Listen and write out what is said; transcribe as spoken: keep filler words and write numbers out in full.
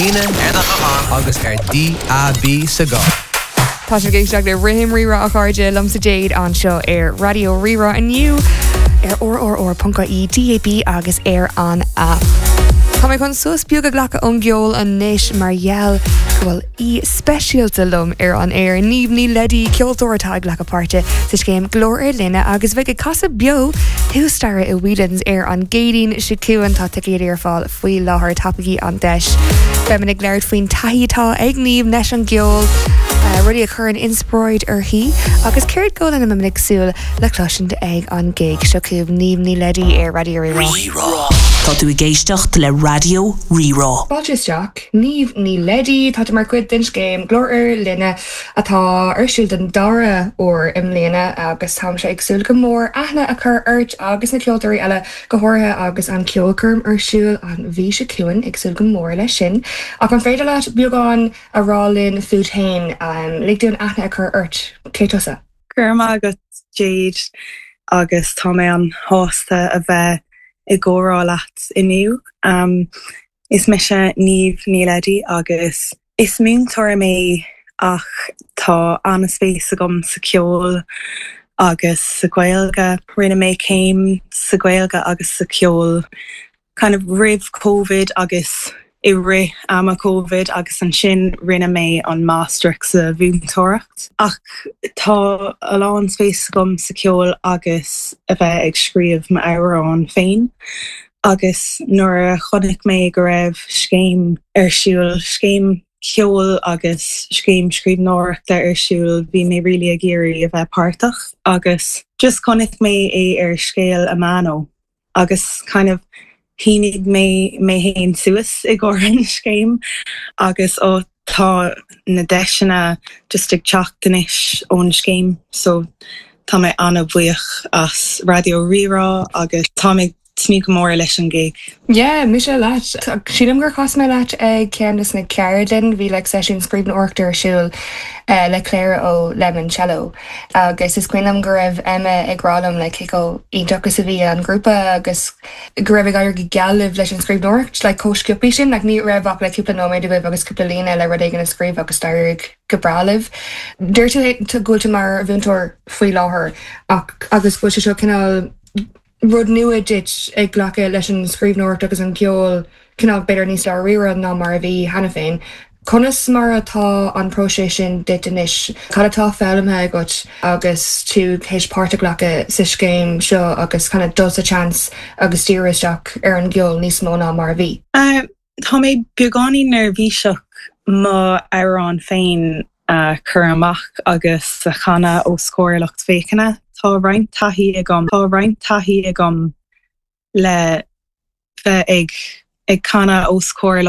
líne ar do ghuthán agus ar DAB sa gcarr. Tá sibh ag éisteacht le Rithim Rírá a chairde liomsa Jade anseo ar Raidió Rí-Rá inniu ar rrr.ie DAB agus ar an app. Tá mé chun sos beag a ghlacadh ón gceol anois mar gheall go bhfuil aoi speisialta liom ar an aer Niamh Ní Leidí ceoltóir atá ag glacadh páirte sa scéim Glór ar Líne agus bheidh ag casadh beo thuas staighre i Whelan's ar an gCéadaoin seo chugainn tá ticéid ar fáil faoi láthair tapaigí an deis. Beimid ag labhairt faoin taithí atá ag Niamh leis an gceol. Uh, rudaí a chuireann inspioráid uirthi agus céard go lena mbeimid ag súil le cloisint ag an gig seo chugaibh Niamh Ní Leidí ar Raidió Rí-Rá. Tá tú ag éisteacht le Raidió Rí-Rá. Fáilte isteach Niamh Ní Leidí tá tú mar chuid den scéim Glór ar Líne atá ar siúl den dara huair i mbliana agus táimse ag súil go mór aithne a chur ort agus na ceoltóirí eile go háirithe agus an ceolchoirm ar siúl an mhí seo chugainn ag súil go mór leis sin. Ach an féidir leat beagán a rá linn fút féin um, lig dúinn aithne a chur ort cé tusa. Go raibh maith agat Jade agus tá mé an-sásta a bheith i gcomhrá leat inniu. Um, is mise Niamh Ní Leidí agus is múinteoir mé ach tá an-spéis agam sa ceol agus sa Ghaeilge. Rinne mé céim sa Ghaeilge agus sa ceol kind of roimh COVID agus i rith ama COVID agus ansin rinne mé an máistreacht sa mhúinteoireacht. Ach tá a lán spéis agam sa ceol agus a bheith ag scríobh m'amhrán féin. Agus nuair a chonaic mé go raibh scéim ar siúl scéim ceol agus scéim scríbhneoireachta ar siúl bhí mé really ag iarraidh a bheith páirteach agus just chonaic mé é ar Scéal Amano agus kind of shínigh mé mé féin suas i gcomhair an scéim agus ó tá na deiseanna just ag teacht anois ón scéim so tá mé an-bhuíoch as Raidió Rí-Rá agus tá mé tnúth go mór leis an gig. Yeah, mise leat. Sílim gur chas mé leat ag ceann de na ceardlanna bhí le seisiún scríbhneoireachta ar siúl uh, le Claire ó Lemon Cello. agus is cuimhin liom go raibh Emma ag rá liom le cé chomh iontach is a bhí an grúpa agus go raibh ag éirí go geal libh leis an scríbhneoireacht, le chomh sciobtha sin, like, ní raibh ach le cúpla nóiméad agaibh agus cúpla líne le rud éigin a scríobh agus d'éirigh go breá libh. Deir tú go bhfuil tú mar mhúinteoir faoi láthair ach agus go bhfuil sé seo cineál rud nua duit ag glacadh leis an scríbhneoireacht agus an ceol cineál b'fhéidir níos dáiríre ná mar a bhí cheana féin. Conas mar atá an próiseas sin duit anois, Cad atá foghlamtha agat agus tú théis páirt a ghlacadh sa scéim seo agus kind of dul sa seans agus díriú isteach ar an gceol níos mó ná mar a bhí. Uh, tá mé beagáinín neirbhíseach m'amhrán féin a chur amach agus a chanadh os comhair lucht féachana. Tá roinnt taithí agam Tá roinnt taithí agam le bheith ag ag canadh os comhair